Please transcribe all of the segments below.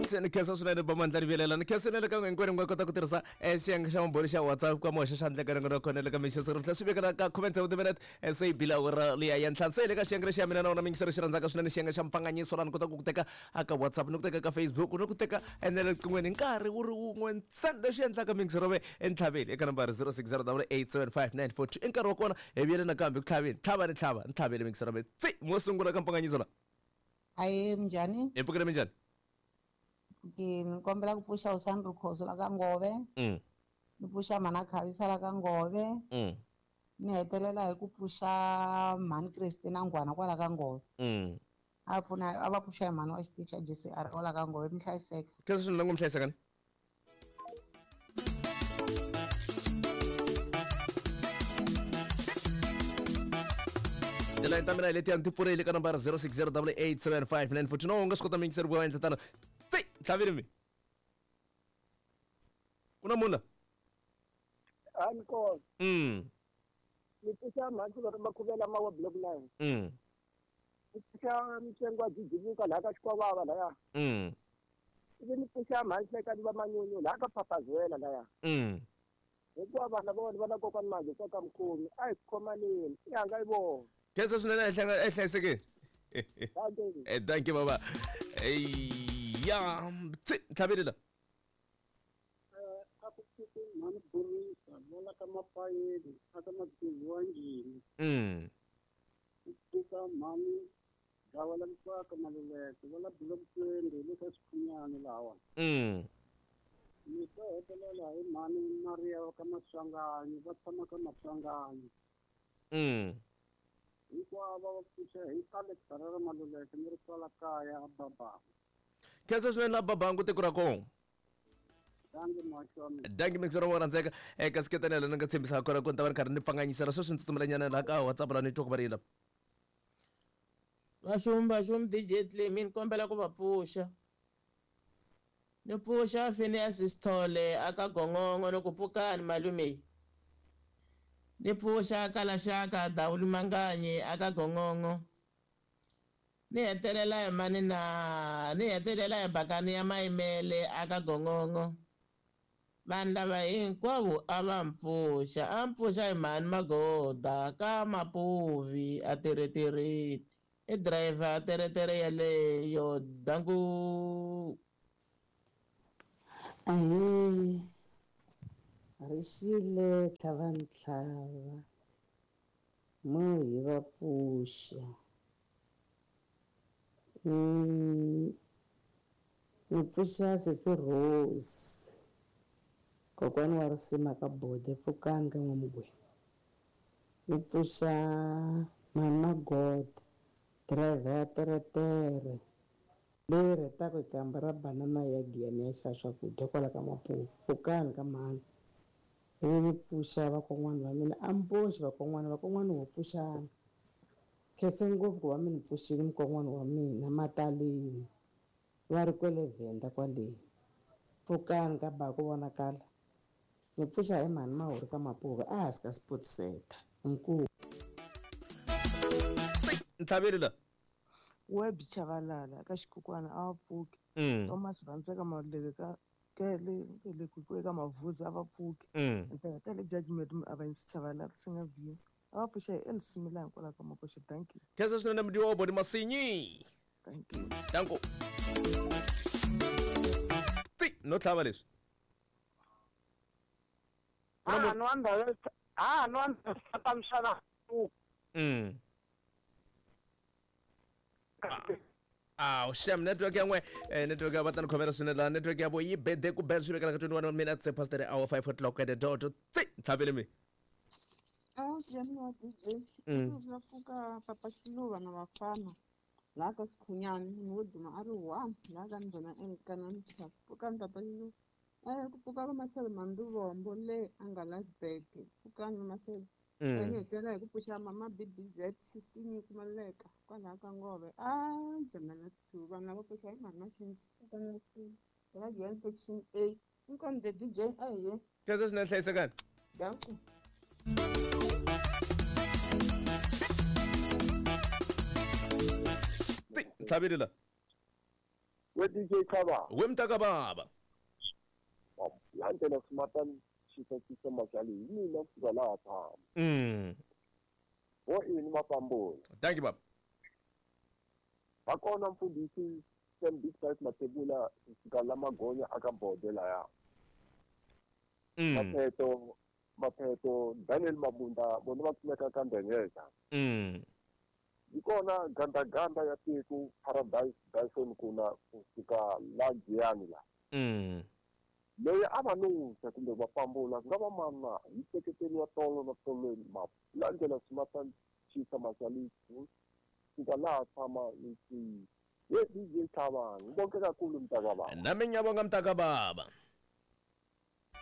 Ni khensa swinene Bamandla Rivelela. Ni khensa na le ka n'we hinkwenu mi nga kota ku tirhisa xiyenge xa mambhoni xa WhatsApp ka moxa xa ndleka na kona le ka mixo ri tlhela swi vekela ka comment ya minute se yi bila awara liya ya ntlhanu. Se hi le ka xiyenge lexi ya mina na wona mingisero xi rhandzaka swinene xiyenge xa mpfanganyiso laha ni kotaka ku teka aka WhatsApp, ni ku teka ka Facebook, ni ku teka na le riqinghweni hi nkarhi wu ri wun'we ntsena. Leswi endlaka mingisero ve entlhaveni eka nambara 0608875942 i nkarhi wa kona hi vuyele nakambe ku tlhaveni tlhava ni tlhava ni tlhavele mingisero ve tsi mo sungula ka mpfanganyiso la. Ahee, minjhani? Hi pfukile, minjhani? Ke ni kombela ku pfuxa Hosani Rikhosi la ka Ngove. Ni pfuxa mhana Khavisa la ka Ngove. Ni hetelela hi ku pfuxa mhani Christina Nghwana kwala ka Ngove. A pfuna a va pfuxa hi mhani wa xitichi xa JCR kwala ka Ngove, mi hlayiseka. Khensa swinene ngo mi hlayiseka ni. Tilayini ta mina hi letiya ti pfurile ka nambara 0608875942 no u nga swi kota miyingiseri ku va endla tano tsi ntlhavini mi ku na munhu la A ni kona. Ni pfuxa mhani va ri makhuvela mawa block 9. Ni pfuxa mintsengo wa jijivuka laha ka Xikwavava laya. Ivi ni pfuxa mhani Hlekani va Manyunyu laha ka Phaphazwela laya. Hikuva vana va vona va na kokwani Manje kwa ka Mkhomi a hi khomaneni i hanga yi vona. Khensa swinene a hi hlanga- a hi hlayisekeni. Thank you. Thank you baba. Ya, tsi ntlhaveli la. A ku pfuki mhani Borisa va la ka Mapayeni a ka Magezi wa Njhini. Ku pfuka mhani Gawa la Mutswaka Maluleke va la Block 20 le ka Xikhunyani lahawani. Ni to hetelela hi mhani Maria va ka Maswanganyi va tshama ka Maswanganyi. Hinkwavo va pfuxa hi Alex Harare Maluleke ni ri kwala kaya a Babangu. Khensa swinene la Babangu tiko ra kona. Dankie muhaxi wa mina. Dankie mixer wa rhandzeka. Kasi ketana la ni nga tshembisa kona ku ni ta va ni karhi ni pfanganyisela sweswi ni tsutsumelanyana laha ka WhatsApp la ni twa ku va ri yini la. Vaxumi vaxumi DJ Clemy ni kombela ku va pfuxa. Ni pfuxa Phineas Sithole aka Gongongo ni ku pfukani malume. Ni pfuxa Kalaxaka Dawulu Manganyi aka Gongongo. Ni hetelela hi mani na ni hetelela hi bakani ya Mayimele aka Gongongo. Vanhu lava hinkwavo a va mpfuxa, a mpfuxa hi mhani Magoda ka Mapuvi a teretereti. I driver teretere yeleyo danku. Ahee, ri xile tlhava ntlhava, mo hi va pfuxa. Ni pfuxa sesi Rose, kokwani wa risima ka Bode, pfukani ka N'wamugwenya. Ni pfuxa mhani Magoda, driver ya teretere leyi rhetaka hi kamba ra banana ya Giyani ya xava swakudya kwala ka Mapuva, pfukani ka mhani. Ivi ni pfuxa vakon'wana va mina, a mi boxi vakon'wana, vakon'wana ho pfuxana. Khense ngopfu ku va mi ni pfuxile mukon'wana wa mina Mataleni, va ri kwele Venda kwale. Pfukani ka ba ku vonakala. Ni pfuxa hi mhani Mahuri ka Mapuva a hansi ka Sport Center. Inkomu. Ntlhaveli la. Web Chavalala ka Xikukwana a va pfuki. Thomas Rhandzeka Maluleke ka kele le ku eka Mavuza a va pfuki. Ni ta hetela judgment mi avanyisi Chavalala swi nga view. A va pfuxa hi Elsie Milani kwalaho ka Makoxe. Thank you. Khensa swinene mudyiwa wa Body Masinyi. Thank you. Danko. Tsi no tlhava leswi. Ha nwa ndhawu ha nwa ndhawu ta mxana. Aw, shem network ya n'we network ya va ta ni khomela swinene laha network ya vo yi bede ku bela swi vekela ka 21 minutes past the hour 5 o'clock at the dot. Tsi ntlhavele mi. Awu Jani wa DJ. Va pfuka Papa Xiluva na vafana laha ka Sikhunyani ni wo duma a ri one laha ka Ndhuna Enkana Mchasi. Pfukani Papa Xiluva. Ku pfuka va Maseve Manduvombo le a nga Lasburg. Pfukani va Maseve. Ni hetelela hi ku pfuxa mama BBZ 16 yi kumaleka kwalaho ka Ngove. A Jamela 2 vanhu lava pfuxa hi mhani Maxinxi. La Giyani section A. Inkomu the DJ a hi ye. Khensa swinene hlayisekani. Danko. Tsi ntlhaveli la. We DJ Khaba. We mntaka baba. Landela smartan xisa majali hi mina kusuka laha tshama. Wo ini mapambula. Thank you baba. Va kona mfundhisi Sam Big Five Mathebula kusuka la Magonya aka Bode laya. Mapheto Daniel Mabunda vona va kumeka ka Ndengeza. Yi kona gandaganda ya tiko Paradise Dyson kuna kusuka la Giyani la. Loyi a va nusa kumbe va pambula ku nga va mana hi seketeliwa tolo na tolweni malandela swimatana xisa masali kusuka laha tshama ni ye DJ Thabang ngibonke kakhulu mntakababa. Nami ngiyabonga mntakababa.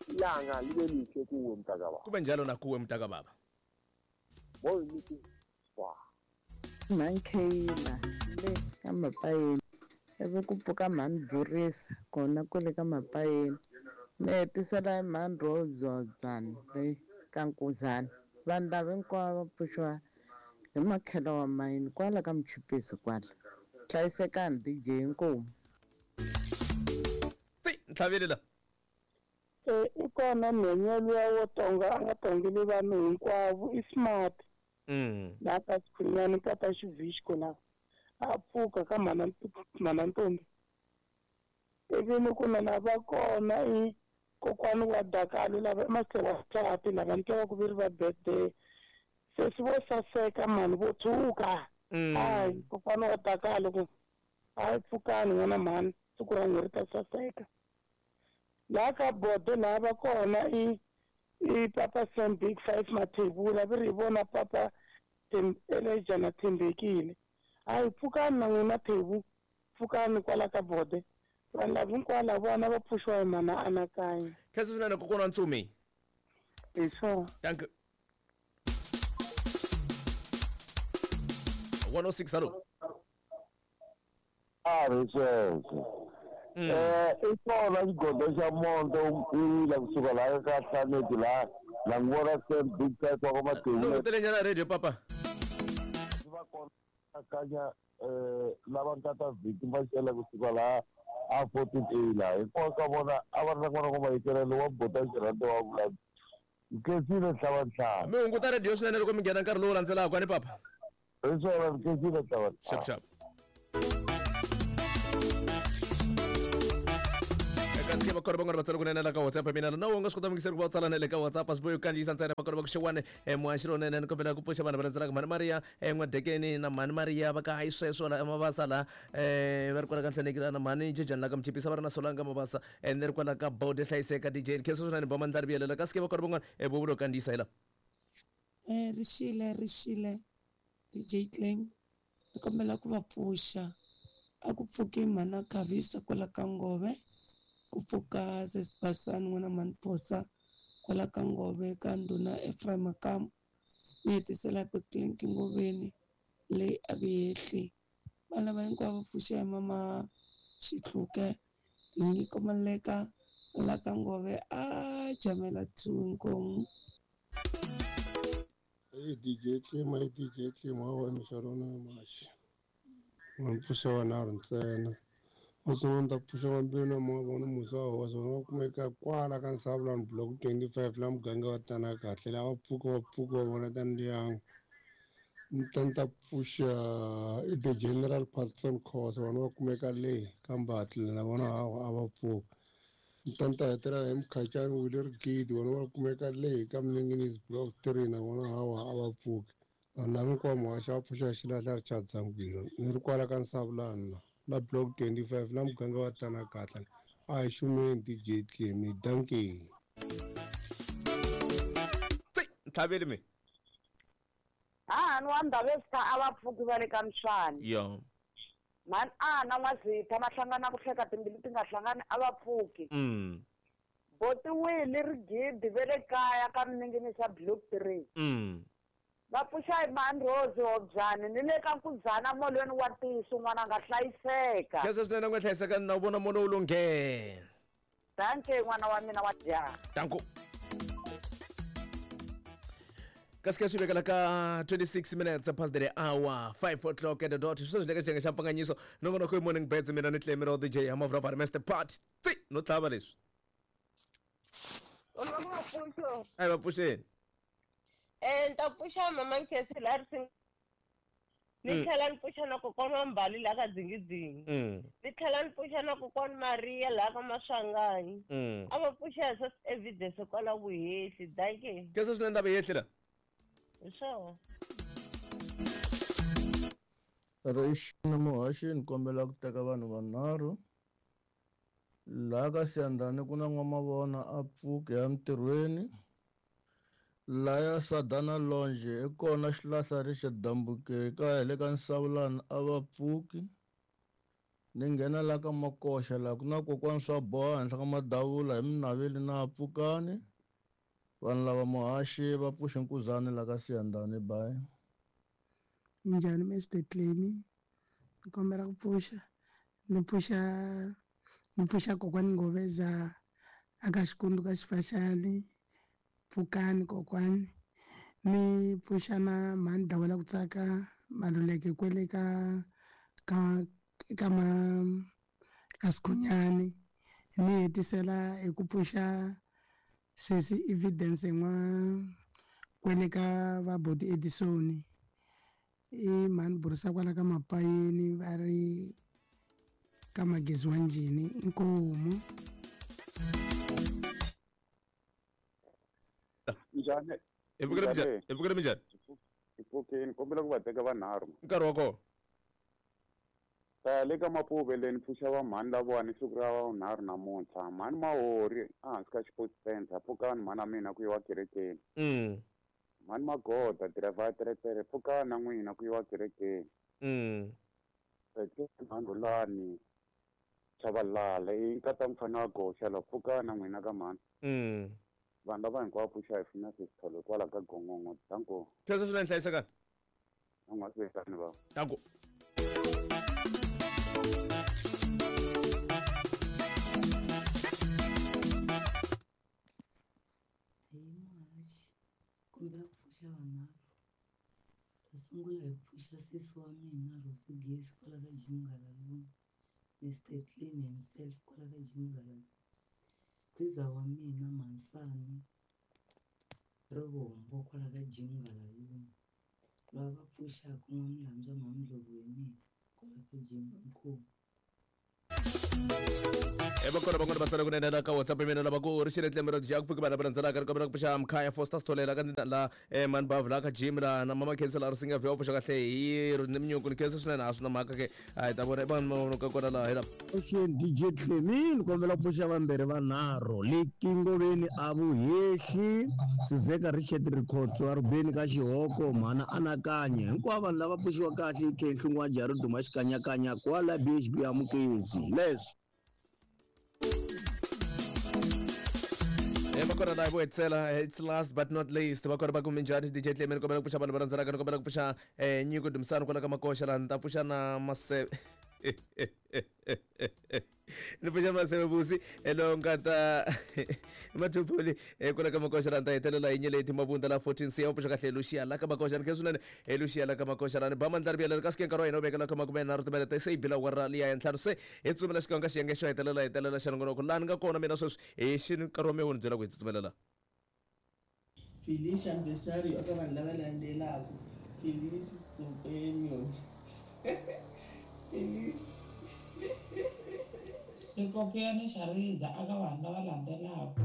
Ilanga libe lihle kuwe mntakababa. Kube njalo nakuwe mntakababa. Moyo nithi wa Mankheyila le ka Mapayeni ivi ku pfuka mhani Burisa kona kwale ka Mapayeni ni hetisela hi mhani Rodzobani le ka Nkuzana. Vanhu lava hinkwavo va pfuxiwa hi makhelo wa mayini kwala ka Mchipisi kwala. Hlayisekani DJ inkomu. Tsi ntlhaveli la. I kona nhwenya luya wo tonga a nga tongeli vanhu hinkwavo i smart. Laha ka Sikhunyani papa Xivixko la a pfuka ka mhana Ntombi. Ivi ni ku na lava kona i kokwani wa Dakalo lava i Masewa Tlhapi lava ni twa ku veri va birthday. Sesi vo saseka mhani vo tshuka. Hayi kokwani wa Dakalo ku hayi pfukani n'wana mhani siku ra n'we ri ta saseka. Laha ka Bode laha va kona i papa Sam Big Five Mathebula vi ri hi vona papa Elijah na Thembekile. Hayi pfukani na n'wina Thebu pfukani kwala ka Bode. Vanhu lava hinkwavo lavona va pfuxiwa hi mana Anakanya. Khensa swinene kokwana wa Ntsumi. Hi swona. Thank you. 106 hello. A ri sweswo. I kona xigodo xa monto u wile kusuka laha ka Hlaneki laha la n'wi vona Sam Big Five wa ka Mathebula. Loko radio papa. Va kona kanya lava nkata vhiki va xela kusuka laha a 14A laha hinkwavo ka vona a va ri na n'wana wa mayikelelo wa bota xirhando wa vula Nkensile Nhlavanhlava. Mi hunguta radio swinene loko mi nghena nkarhi lowu landzelaka ni papa. Hi swona Nkensile Nhlavanhlava. Xap xap. Kasi va kona van'wana va tsala kunene la ka WhatsApp mina na u nga swi kota mingiseri ku va u tsala na le ka WhatsApp a swi bohi ku kandziyisa ntsena va kona va ku xewani muhaxi lonene ni kombela ku pfuxa vanhu va landzelaka mhani Maria N'wadekeni na mhani Maria va ka hayi sweswo la Mabasa la va ri kwala ka Nhlaneki la na mhani Jejani la ka Mchipisa va ri na Solanga Mabasa ni ri kwala ka Bode hlayiseka DJ Khensa swinene ba mandla ri vuyelela kasi ke va kona van'wana vovulo kandziyisa hi la. Rixile DJ Claim ni kombela ku va pfuxa a ku pfuki mhana Khavisa kwala ka Ngove ku pfuka Sesibasani n'wana mhani Phosa kwala ka Ngove ka ndhuna Ephraim Makamu ni hetisela Beklinki Ngoveni leyi a vihehli vana va hinkwavo pfuxa hi mama Xihluke Tinyiko Maleka la ka Ngove a jamela 2 inkomu. Hey DJ Clem, hey DJ Clem, wa misarona mashi. Wa pfuxa wa ntsena. Wasonda pfuxa wa mbilu na moya vona musa wa swona va kumeka kwala ka Nsavulani block 25 la muganga wa tana kahle lava pfuka va pfuka va vona ta ndyangu. Ni ta pfuxa i the General Patson Khosa vona va kumeka le ka Mbatli na vona a va pfuka. Ni ta hetelela hi Mkhacani Wile Rigidi vona va kumeka le ka Mninginisi block 3 na vona hawa a va pfuki. Vanhu lava hinkwavo muhaxi va pfuxa xilahla Richard Zangwilo ni ri kwala ka Nsavulani la block 25 la muganga wa tana kahle a hi xumeni DJ Clem dankie. Tsi ntlhaveli mi. Hani wa Ndhavezitha a va pfuki va le ka Mswani. Yo. Mhani ana N'wazitha va hlangana ku hleka timbilu ti nga hlangani a va pfuki. Botiwile Rigidi ve le kaya ka Mninginisa block 3. Va pfuxa hi mhani Rose Hobyani ni le ka Nkuzana molweni wa tiso n'wana a nga hlayiseka. Khensa swinene nga hlayiseka na vona molo wu lunghe. Dankie n'wana wa mina wa jaha. Danko. Kasi ka swi vekela ka 26 minutes past the hour, 5 o'clock at the dot. Sweswi le ka xiyenge xa mpfanganyiso, nongonoko i Morning Birds, mina ni Tlemiro DJ Hamavravari Mr Part Tsi no tlhava leswi. A hi va pfuxeni. Ni ta pfuxa mama Nkhesi laha ri ni tlhela ni pfuxa na kokwana wa Mbali laha ka Dzingidzingi. Ni tlhela ni pfuxa na kokwana Maria laha ka Maswanganyi. A va pfuxa hi swa evidence kwala vuhehli. Dankie. Khensa swinene ndaba yehli la. Hi swona. Rixini muhaxi ni kombela ku teka vanhu vanharhu. Laha ka Siyandhani ku na n'wamavona a pfuki ya mintirhweni. Laya Sadana Longe i kona xilahla ri xa dambuke ka hi le ka Nsawulani a va pfuki. Ni nghena la ka Makoxa laha ku na kokwana swa boha henhla ka madavula hi minaveli na pfukani. Vanhu lava muhaxi va pfuxe nkuzani la ka Siyandhani bye. Minjhani Mr Clemmy? Ni kombela ku pfuxa. Ni pfuxa ni pfuxa kokwani Ngoveza aka Xikundu ka Xifaxani. Pfukani kokwani. Ni pfuxa na mhani Dawela ku tsaka Maluleke kwele ka ka ka ma ka Sikhunyani. Ni hetisela hi ku pfuxa sesi Evidence n'wa kwele ka va Boti Edison. I mhani Burisa kwala ka Mapayeni va ri ka Magezi wa Njhini inkomu. Njhani? Hi pfukile minjhani? Hi pfukile minjhani? Hi pfukile, ni kombela ku va teka vanharhu. Nkarhi wa kona. Ta le ka Mapuve le ni pfuxa va mhani lavawani siku ra vunharhu namuntlha. Mhani Mahori ehansi ka Sports Center, pfukani mhani wa mina ku yiwa kerekeni. Mhani Magoda driver ya teretere, pfukani na n'wina ku yiwa kerekeni. Mhani Rhulani Chabalala i nkata mfana wa goxa la, pfukani na n'wina ka mhani. Vanhu lava hinkwavo pfuxa hi funa sisitholo kwala ka Gongongo. Danko. Khensa swinene, hlayisekani. Na n'wa sivekani va. Danko. Hi muhaxi, kombela ku pfuxa vanharhu. Ta sungula hi ku pfuxa sesi wa mina Rosi Gesi kwala ka Jim Galaluni, Mr Clean himself kwala ka Jim Galaluni. Squeezer wa mina Mansani Rivombo kwala ka Jim Galaluni. Lava va pfuxaka n'wamulambya Mhamdlovu hi mina kwala ka Jim Inkomu. Va kona van'wana va tsala kunene la ka WhatsApp mina lava ku ri xile tlemero dya ku pfuki vanhu va landzelaka ri kombela ku pfuxa Mkhaya Foster Sithole la ka la Mani Bavu la ka Jim la na Mama Khensa la ri singa vhe wa pfuxa kahle hi ri ni minyuku ni khensa swinene a swi na mhaka ke a hi ta vona vanhu va ka kona laha hi la Ocean DJ Clemi ni kombela ku pfuxa vambirhi vanharhu le Kingoveni a Vuhehli Sizeka Richard Rikhotso a Rubeni ka Xihoko mhana Anakanya hinkwavo vanhu lava pfuxiwa kahle i Khenhlu N'waja ri duma xikanyakanya kwala BHB Amukezi leswi Va kona laha vo hetisela, it's last but not least va kona va ku minjhani DJ Clemi ni kombela ku pfuxa vanhu va landzelaka ni kombela ku pfuxa Nyiko Dumisani kwala ka Makoxa laha ni ta pfuxa na Maseve ni pfuxa Maseve Vusi lowu nga ta Mathuphuli kwala ka Makoxa laha ni ta hetelela hi Nyeleti Mabunda la 14 C ya pfuxa kahle Lucia la ka Makoxa ni khensa swinene Lucia la ka Makoxa laha ni ba mandla ri vuyelela kasi ke nkarhi wa hina wu vekela ka 13 timinete se yi bila awara liya ya ntlhanu se hi tsutsumela xikan'we ka xiyenge xo hetelela hetelela xa nongonoko laha ni nga kona mina sweswi hi xi nkarhi wa mina wu ni byela ku hi tsutsumela laha. Felicia Mbesario eka vanhu lava landzelaka Felice Companion Felice Rikopiyani Xariza eka vanhu lava landzelaka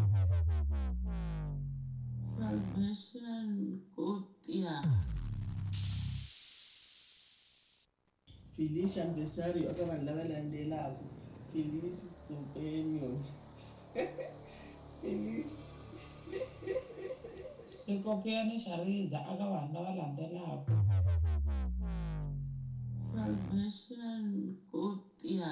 Salvation Kopia Felicia Mbesario eka vanhu lava landzelaka Felice Companion Felice Rikopiyani Xariza eka vanhu lava landzelaka Salvation Kopia